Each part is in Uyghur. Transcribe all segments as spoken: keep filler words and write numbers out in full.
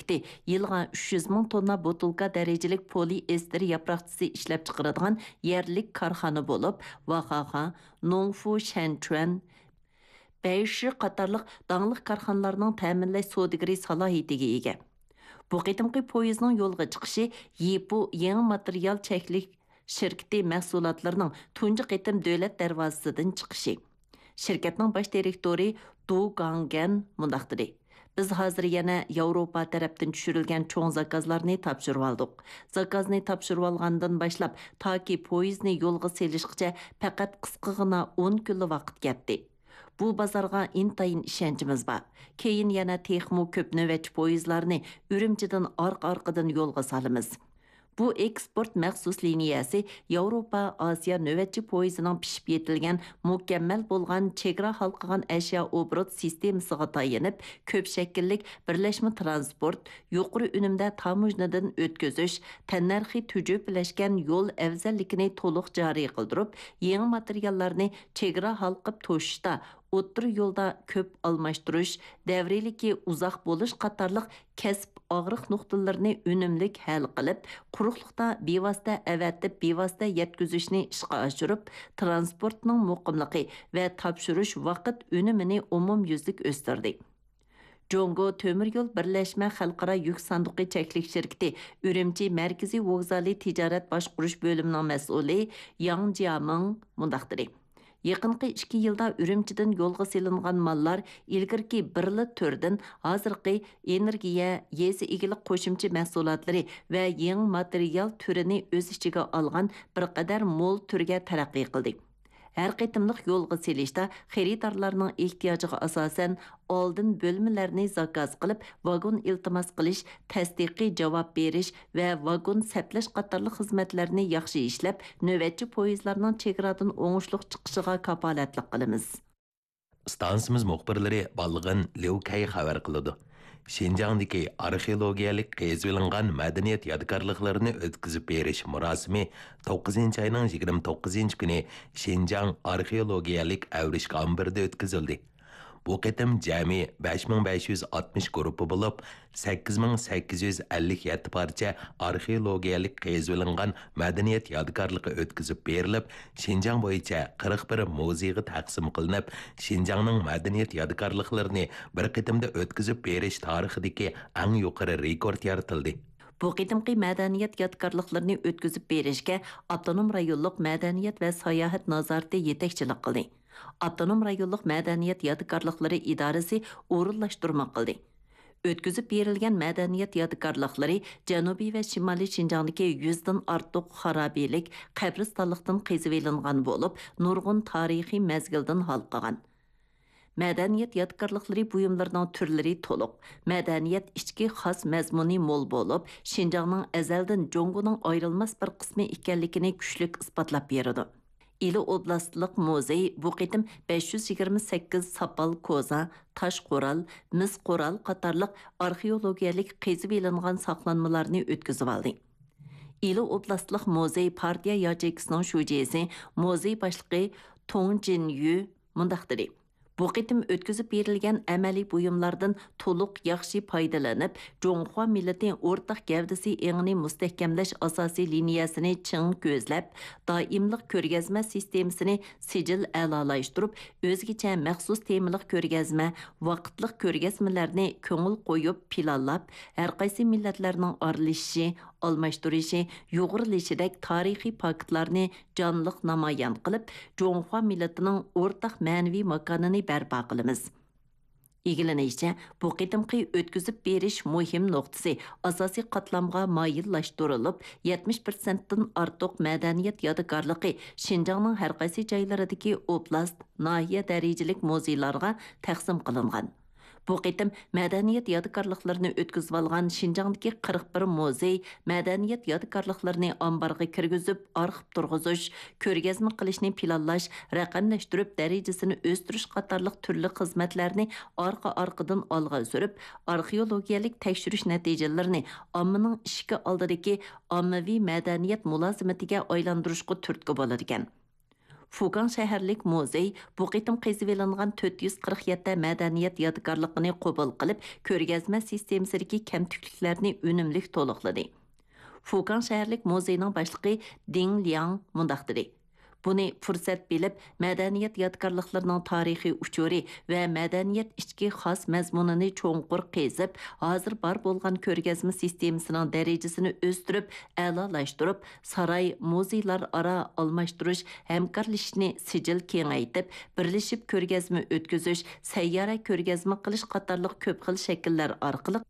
شىركىتى يىلىغا ئۈچ يۈز مىڭ توننا بوتۇلكا دەرىجىلىك پولىئېستېر ياپراقچىسى ئىشلەپچىقىرىدىغان يەرلىك كارخانا بولۇپ، ۋاخاخا، نوڭفۇ شەنچۈەن، بەيشى قاتارلىق داڭلىق كارخانىلارنىڭ تەمىنلەش سودىگىرى سالاھىيىتىگە ئىگە. بۇ قېتىمقى پويىزنىڭ يولغا چىقىشى يىپۇ يېڭى ماتېرىيال چەكلىك شىركىتى مەھسۇلاتلىرىنىڭ تۇنجى قېتىم دۆلەت دەرۋازىسىدىن چىقىشى. شىركەتنىڭ باش دىرېكتورى دۇ گاڭگەن مۇنداق دېدى: «بىز ھازىر يەنە ياۋروپا تەرەپتىن چۈشۈرۈلگەن چوڭ زاكازلارنى تاپشۇرۇۋالدۇق. زاكازنى تاپشۇرۇۋالغاندىن باشلاپ، تاكى پويىزنى يولغا سېلىشقىچە پەقەت قىسقىغىنا ئون كۈنلا ۋاقىت كەتتى. بۇ بازارغا ئىنتايىن ئىشەنچىمىز بار. كېيىن يەنە تېخىمۇ كۆپ نۆۋەتچى پويىزلارنى ئۈرۈمچىدىن ئارقا-ئارقىدىن يولغا سالىمىز.» بۇ ئېكسپورت مەخسۇس لىنىيەسى ياۋروپا، ئاسىيا نۆۋەتچى پويىزىنىڭ پىشىپ يېتىلگەن، مۇكەممەل بولغان چېگرا ھالقىغان ئەشيا ئوبوروت سىستېمىسىغا تايىنىپ، كۆپ شەكىللىك بىرلەشمە تىرانسپورت، يۇقىرى ئۈنۈمدە تاموژنىدىن ئۆتكۈزۈش، تەننەرخى تۈجۈپىلەشكەن يول ئەۋزەللىكىنى تولۇق جارى قىلدۇرۇپ، يېڭى ماتېرىياللارنى چېگرا ھالقىپ توشۇشتا، ئوتتۇرا يولدا كۆپ ئالماشتۇرۇش، دەۋرىيلىكى ئۇزاق بولۇش قاتارلىق كەسىپ ئاغرىق نۇقتىلىرىنى ئۈنۈملۈك ھەل قىلىپ، قۇرۇقلۇقتا بىۋاسىتە ئەۋەتىپ، بىۋاسىتە يەتكۈزۈشنى ئىشقا ئاشۇرۇپ، تىرانسپورتنىڭ مۇقىملىقى ۋە تاپشۇرۇش ۋاقىت ئۈنۈمىنى ئومۇميۈزلۈك ئۆستۈردى. جۇڭگو تۆمۈر يول بىرلەشمە خەلقئارا يۈك ساندۇقى چەكلىك شىركىتى ئۈرۈمچى مەركىزىي ۋوگزالى تىجارەت باشقۇرۇش بۆلۈمىنىڭ مەسئۇلى ياڭ جيامىڭ مۇنداق دېدى: «يېقىنقى ئىككى يىلدا ئۈرۈمچىدىن يولغا سېلىنغان ماللار ئىلگىرىكى بىرلا تۈردىن ھازىرقى ئېنېرگىيە، يېزا ئىگىلىك قوشۇمچە مەھسۇلاتلىرى ۋە يېڭى ماتېرىيال تۈرىنى ئۆز ئىچىگە ئالغان بىر قەدەر مول تۈرگە تەرەققىي قىلدى. ھەر قېتىملىق يولغا سېلىشتا خېرىدارلارنىڭ ئېھتىياجىغا ئاساسەن، ئالدىن بۆلمىلەرنى زاكاز قىلىپ، ۋاگون ئىلتىماس قىلىش، تەستىقىي جاۋاب بېرىش ۋە ۋاگون سەپلەش قاتارلىق خىزمەتلەرنى ياخشى ئىشلەپ، نۆۋەتچى پويىزلارنىڭ چېگرادىن ئوڭۇشلۇق چىقىشىغا كاپالەتلىك قىلىمىز.» ئىستانسىمىز مۇخبىرلىرى بالغىن ليۇ كەي خەۋەر قىلىدۇ. شىنجاڭدىكى ئارخېئولوگىيەلىك قېزىۋېلىنغان مەدەنىيەت يادىكارلىقلىرىنى ئۆتكۈزۈپ بېرىش مۇراسىمى توققۇزىنچى ئاينىڭ يىگىرمە توققۇزىنچى كۈنى شىنجاڭ ئارخېئولوگىيەلىك ئەۋرىشكە ئامبىرىدا ئۆتكۈزۈلدى. بۇ قېتىم جەمئىي بەش مىڭ بەش يۈز ئاتمىش گۇرۇپپا بولۇپ، سەككىز مىڭ سەككىز يۈز ئەللىك يەتتە پارچە ئارخېئولوگىيەلىك قېزىۋېلىنغان مەدەنىيەت يادىكارلىقى ئۆتكۈزۈپ بېرىلىپ، شىنجاڭ بويىچە قىرىق بىر مۇزېيغا تەقسىم قىلىنىپ، شىنجاڭنىڭ مەدەنىيەت يادىكارلىقلىرىنى بىر قېتىمدا ئۆتكۈزۈپ بېرىش تارىخىدىكى ئەڭ يۇقىرى رېكورت يارىتىلدى. بۇ قېتىمقى مەدەنىيەت يادىكارلىقلىرىنى ئۆتكۈزۈپ بېرىشكە ئاپتونوم رايونلۇق مەدەنىيەت ۋە ساياھەت نازارىتى يېتەكچىلىك قىلدى. ئاپتونوم رايونلۇق مەدەنىيەت يادىكارلىقلىرى ئىدارىسى ئورۇنلاشتۇرما قىلدى. ئۆتكۈزۈپ بېرىلگەن مەدەنىيەت يادىكارلىقلىرى جەنۇبىي ۋە شىمالىي شىنجاڭدىكى يۈزدىن ئارتۇق خارابىلىك، قەبرىستانلىقتىن قېزىۋېلىنغان بولۇپ، نۇرغۇن تارىخىي مەزگىلدىن ھالقىغان. مەدەنىيەت يادىكارلىقلىرى بۇيۇملىرىنىڭ تۈرلىرى تولۇق، مەدەنىيەت ئىچكى خاس مەزمۇنى مول بولۇپ، شىنجاڭنىڭ ئەزەلدىن جۇڭگونىڭ ئايرىلماس بىر قىسمى ئىكەنلىكىنى كۈچلۈك ئىسپاتلاپ بېرىدۇ. ئىلى ئوبلاستلىق مۇزېي بۇ قېتىم بەش يۈز يىگىرمە سەككىز ساپال كوزا، تاش قورال، مىس قورال قاتارلىق ئارخېئولوگىيەلىك قېزىۋېلىنغان ساقلانمىلارنى ئۆتكۈزۈۋالدى. ئىلى ئوبلاستلىق مۇزېي پارتىيە ياچېيكىسىنىڭ شۇجىسى، مۇزېي باشلىقى تۇڭ جىنيۈ مۇنداق دېدى: «بۇ قېتىم ئۆتكۈزۈپ بېرىلگەن ئەمەلىي بۇيۇملاردىن تولۇق ياخشى پايدىلىنىپ، جۇڭخۇا مىللىتى ئورتاق گەۋدىسى ئېڭىنى مۇستەھكەملەش ئاساسىي لىنىيەسىنى چىڭ كۆزلەپ، دائىملىق كۆرگەزمە سىستېمىسىنى سىجىل ئەلالاشتۇرۇپ، ئۆزگىچە مەخسۇس تېمىلىق كۆرگەزمە، ۋاقىتلىق كۆرگەزمىلەرنى كۆڭۈل قويۇپ پىلانلاپ، ھەرقايسى مىللەتلەرنىڭ ئارىلىشىشى، ئالماشتۇرۇشى، يۇغۇرۇلۇشىدەك تارىخىي پاكىتلارنى جانلىق نامايان قىلىپ، جۇڭخۇا مىللىتىنىڭ ئورتاق مەنىۋى ماكانىنى بەرپا قىلىمىز.» ئىگىلىنىشىچە، بۇ قېتىمقى ئۆتكۈزۈپ بېرىش مۇھىم نۇقتىسى ئاساسىي قاتلامغا مايىللاشتۇرۇلۇپ، يەتمىش پىرسەنتتىن ئارتۇق مەدەنىيەت يادىكارلىقى شىنجاڭنىڭ ھەرقايسى جايلىرىدىكى ئوبلاست، ناھىيە دەرىجىلىك مۇزېيلارغا تەقسىم قىلىنغان. بۇ قېتىم مەدەنىيەت يادىكارلىقلىرىنى ئۆتكۈزۈۋالغان شىنجاڭدىكى قىرىق بىر مۇزېي مەدەنىيەت يادىكارلىقلىرىنى ئامبارغا كىرگۈزۈپ، ئارخىپ تۇرغۇزۇش، كۆرگەزمە قىلىشنى پىلانلاش، رەقەملەشتۈرۈپ، دەرىجىسىنى ئۆستۈرۈش قاتارلىق تۈرلۈك خىزمەتلەرنى ئارقا-ئارقىدىن ئالغا سۈرۈپ، ئارخېئولوگىيەلىك تەكشۈرۈش نەتىجىلىرىنى ئاممىنىڭ ئىشىكى ئالدىدىكى ئاممىۋى مەدەنىيەت مۇلازىمىتىگە ئايلاندۇرۇشقا تۈرتكە بولىدىكەن. فۇكاڭ شەھەرلىك مۇزېي بۇ قېتىم قېزىۋېلىنغان تۆت يۈز قىرىق يەتتە مەدەنىيەت يادىكارلىقىنى قوبۇل قىلىپ، كۆرگەزمە سىستېمىسىدىكى كەمتۈكلۈكلەرنى ئۈنۈملۈك تولۇقلىدى. فۇكاڭ شەھەرلىك مۇزېينىڭ باشلىقى دىڭ لياڭ مۇنداق دېدى: بۇنى پۇرسەت بىلىپ، مەدەنىيەت يادىكارلىقلىرىنىڭ تارىخىي ئۇچۇرى ۋە مەدەنىيەت ئىچكى خاس مەزمۇنىنى چوڭقۇر قېزىپ، ھازىر بار بولغان كۆرگەزمە سىستېمىسىنىڭ دەرىجىسىنى ئۆستۈرۈپ، ئەلالاشتۇرۇپ، ساراي، مۇزېيلار ئارا ئالماشتۇرۇش ھەمكارلىشىشنى سىجىل كېڭەيتىپ، بىرلىشىپ كۆرگەزمە ئۆتكۈزۈش، سەييارە كۆرگەزمە قىلىش قاتارلىق كۆپ خىل شەكىللەر ئارقىلىق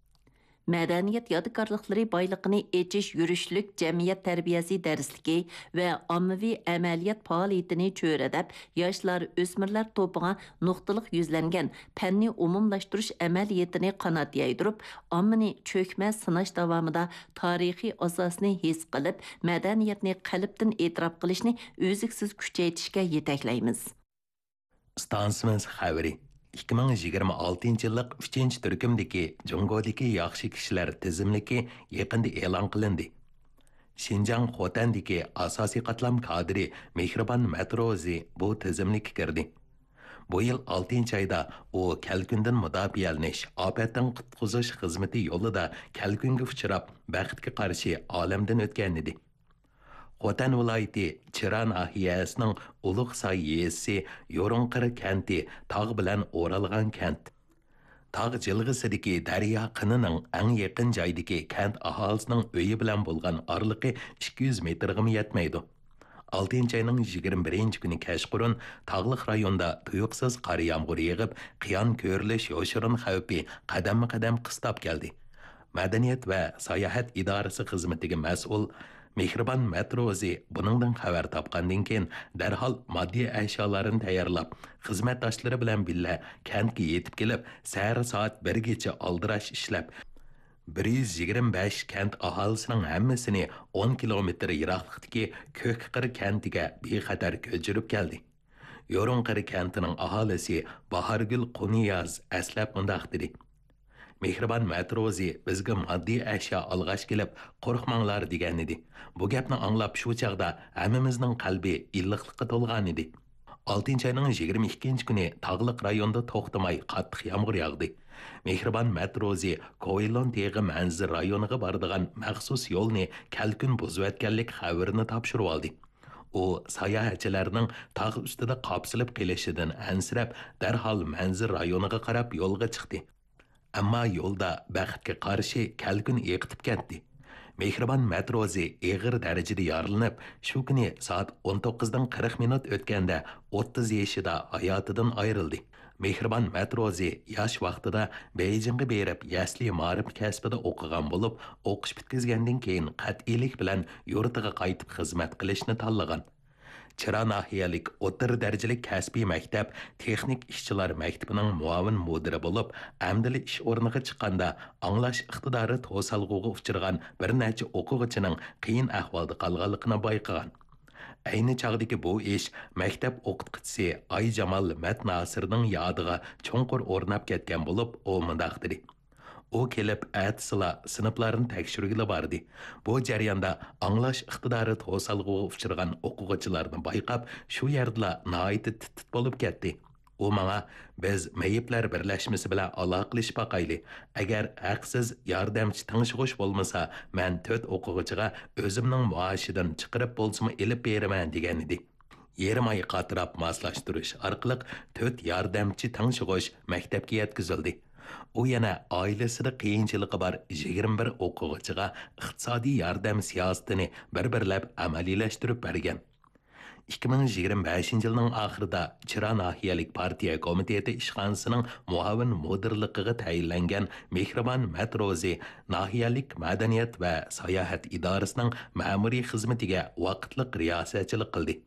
مەدەنىيەت يادىكارلىقلىرى بايلىقىنى ئېچىش يۈرۈشلۈك جەمئىيەت تەربىيەسى دەرسلىكى ۋە ئاممىۋى ئەمەلىيەت پائالىيىتىنى چۆرىدەپ، ياشلار، ئۆسمۈرلەر توپىغا نۇقتىلىق يۈزلەنگەن پەننى ئومۇملاشتۇرۇش ئەمەلىيىتىنى قانات يايدۇرۇپ، ئاممىنى چۆكمە سىناش داۋامىدا تارىخىي ئاساسنى ھېس قىلىپ، مەدەنىيەتنى قەلبتىن ئېتىراپ قىلىشنى ئۈزلۈكسىز كۈچەيتىشكە يېتەكلەيمىز. ئىستانسىمىز خەۋىرى. ئىككى مىڭ يىگىرمە ئالتىنچى يىللىق ئۈچىنچى تۈركۈمدىكى جۇڭگودىكى ياخشى كىشىلەر تىزىملىكى يېقىندا ئېلان قىلىندى. شىنجاڭ خوتەندىكى ئاساسىي قاتلام كادىرى مېھرىبان مەتروزى بۇ تىزىملىككە كىردى. بۇ يىل ئالتىنچى ئايدا ئۇ كەلكۈندىن مۇداپىئەلىنىش، ئاپەتتىن قۇتقۇزۇش خىزمىتى يولىدا كەلكۈنگە ئۇچراپ، بەختكە قارشى ئالەمدىن ئۆتكەنىدى. خوتەن ۋىلايىتى چىرا ناھىيەسىنىڭ ئۇلۇغ ساي يېزىسى يورۇڭقىر كەنتى تاغ بىلەن ئورالغان كەنت. تاغ جىلغىسىدىكى دەريا قىنىنىڭ ئەڭ يېقىن جايدىكى كەنت ئاھالىسىنىڭ ئۆيى بىلەن بولغان ئارىلىقى ئىككى يۈز مېتىرغىمۇ يەتمەيدۇ. ئالتىنچى ئاينىڭ يىگىرمە بىرىنچى كۈنى كەچقۇرۇن تاغلىق رايوندا تۇيۇقسىز قار يامغۇر يېغىپ، قىيان كۆرۈلۈش يوشۇرۇن خەۋپى قەدەممۇ قەدەم قىستاپ كەلدى. مەدەنىيەت ۋە ساياھەت ئىدارىسى خىزمىتىگە مەسئۇل مېھرىبان مەتروزى بۇنىڭدىن خەۋەر تاپقاندىن كېيىن، دەرھال ماددىي ئەشيالارنى تەييارلاپ، خىزمەتداشلىرى بىلەن بىللە كەنتكە يېتىپ كېلىپ، سەھەر سائەت بىرگىچە ئالدىراش ئىشلەپ، بىر يۈز يىگىرمە بەش كەنت ئاھالىسىنىڭ ھەممىسىنى ئون كىلومېتىر يىراقلىقتىكى كۆكقىر كەنتىگە بىخەتەر كۆچۈرۈپ كەلدى. يورۇنقىرى كەنتىنىڭ ئاھالىسى باھارگۈل قۇنىياز ئەسلەپ مۇنداق دېدى: مېھرىبان مەتروزى بىزگە ماددىي ئەشيا ئالغاچ كېلىپ، قورقماڭلار دېگەنىدى. بۇ گەپنى ئاڭلاپ شۇ چاغدا ھەممىمىزنىڭ قەلبى ئىللىقلىققا تولغانىدى. ئالتىنچى ئاينىڭ يىگىرمە ئىككىنچى كۈنى تاغلىق رايوندا توختىماي قاتتىق يامغۇر ياغدى. مېھرىبان مەتروزى كوۋېلون تېغى مەنزىرە رايونىغا بارىدىغان مەخسۇس يولنى كەلكۈن بۇزۇۋەتكەنلىك خەۋىرىنى تاپشۇرۇۋالدى. ئۇ ساياھەتچىلەرنىڭ تاغ ئۈستىدە قاپسىلىپ قېلىشىدىن ئەنسىرەپ، دەرھال مەنزىرە رايونىغا قاراپ يولغا چىقتى. ئەمما يولدا بەختكە قارشى كەلكۈن ئېقىتىپ كەتتى. مېھرىبان مەتروزى ئېغىر دەرىجىدە يارىلىنىپ، شۇ كۈنى سائەت ئون توققۇزدىن قىرىق مىنۇت ئۆتكەندە ئوتتۇز يېشىدا ھاياتىدىن ئايرىلدى. مېھرىبان مەتروزى ياش ۋاقتىدا بېيجىڭغا بېرىپ يەسلى مائارىپ كەسپىدە ئوقۇغان بولۇپ، ئوقۇش پۈتكۈزگەندىن كېيىن قەتئىيلىك بىلەن يۇرتىغا قايتىپ خىزمەت قىلىشنى تاللىغان. چىرا ناھىيەلىك ئوتتۇرا دەرىجىلىك كەسپىي مەكتەپ تېخنىك ئىشچىلار مەكتىپىنىڭ مۇئاۋىن مۇدىرى بولۇپ، ئەمدىلا ئىش ئورنىغا چىققاندا ئاڭلاش ئىقتىدارى توسالغۇغا ئۇچرىغان بىر نەچچە ئوقۇغۇچىنىڭ قىيىن ئەھۋالدا قالغانلىقىنى بايقىغان. ئەينى چاغدىكى بۇ ئىش مەكتەپ ئوقۇتقۇچىسى ئايجامال مەتناسىرنىڭ يادىغا چوڭقۇر ئورناپ كەتكەن بولۇپ، ئۇ مۇنداق دېدى: ئۇ كېلىپ ئەتىسىلا سىنىپلارنى تەكشۈرگىلى باردى. بۇ جەرياندا ئاڭلاش ئىقتىدارى توسالغۇغا ئۇچرىغان ئوقۇغۇچىلارنى بايقاپ، شۇ يەردىلا ناھايىتى تىت-تىت بولۇپ كەتتى. ئۇ ماڭا، بىز مېيىپلەر بىرلەشمىسى بىلەن ئالاقىلىشىپ باقايلى. ئەگەر ھەقسىز ياردەمچى تىڭشىغۇچ بولمىسا، مەن تۆت ئوقۇغۇچىغا ئۆزۈمنىڭ مائاشىدىن چىقىرىپ بولسىمۇ ئېلىپ بېرىمەن، دېگەنىدى. يېرىم ئايغا قاتراپ ماسلاشتۇرۇش ئارقىلىق تۆت ياردەمچى تىڭشىغۇچ مەكتەپكە يەتكۈزۈلدى. ئۇ يەنە ئائىلىسىدە قىيىنچىلىقى بار يىگىرمە بىر ئوقۇغۇچىغا ئىقتىسادىي ياردەم سىياسىتىنى بىر-بىرلەپ ئەمەلىيلەشتۈرۈپ بەرگەن. ئىككى مىڭ يىگىرمە بەشىنچى يىلنىڭ ئاخىرىدا چىرا ناھىيەلىك پارتىيە كومىتېتى ئىشخانىسىنىڭ مۇئاۋىن مۇدىرلىقىغا تەيىنلەنگەن مېھرىبان مەتروزى ناھىيەلىك مەدەنىيەت ۋە ساياھەت ئىدارىسىنىڭ مەمۇرىي خىزمىتىگە ۋاقىتلىق رىياسەتچىلىك قىلدى.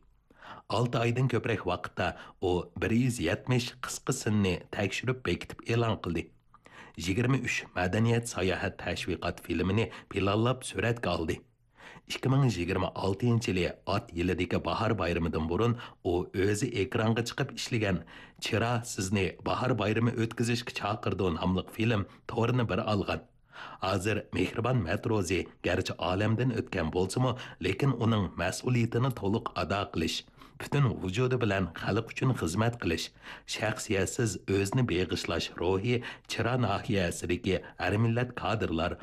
ئالتە ئايدىن كۆپرەك ۋاقىتتا ئۇ بىر يۈز يەتمىش قىسقا سىننى تەكشۈرۈپ بېكىتىپ ئېلان قىلدى. يىگىرمە ئۈچ مەدەنىيەت ساياھەت تەشۋىقات فىلىمىنى پىلانلاپ سۈرەتكە ئالدى. ئىككى مىڭ يىگىرمە ئالتىنچى يىلى ئات يىلىدىكى باھار بايرىمىدىن بۇرۇن ئۇ ئۆزى ئېكرانغا چىقىپ ئىشلىگەن چىرا سىزنى باھار بايرىمى ئۆتكۈزۈشكە چاقىرىدۇ ناملىق فىلىم تورىنى بىر ئالغان. ھازىر مېھرىبان مەتروزى گەرچە ئالەمدىن ئۆتكەن بولسىمۇ، لېكىن ئۇنىڭ مەسئۇلىيىتىنى تولۇق ئادا قىلىش، پۈتۈن ۋۇجۇدى بىلەن خەلق ئۈچۈن خىزمەت قىلىش، شەخسىيەتسىز ئۆزىنى بېغىشلاش روھى چىرا ناھىيەسىدىكى ھەر مىللەت كادىرلار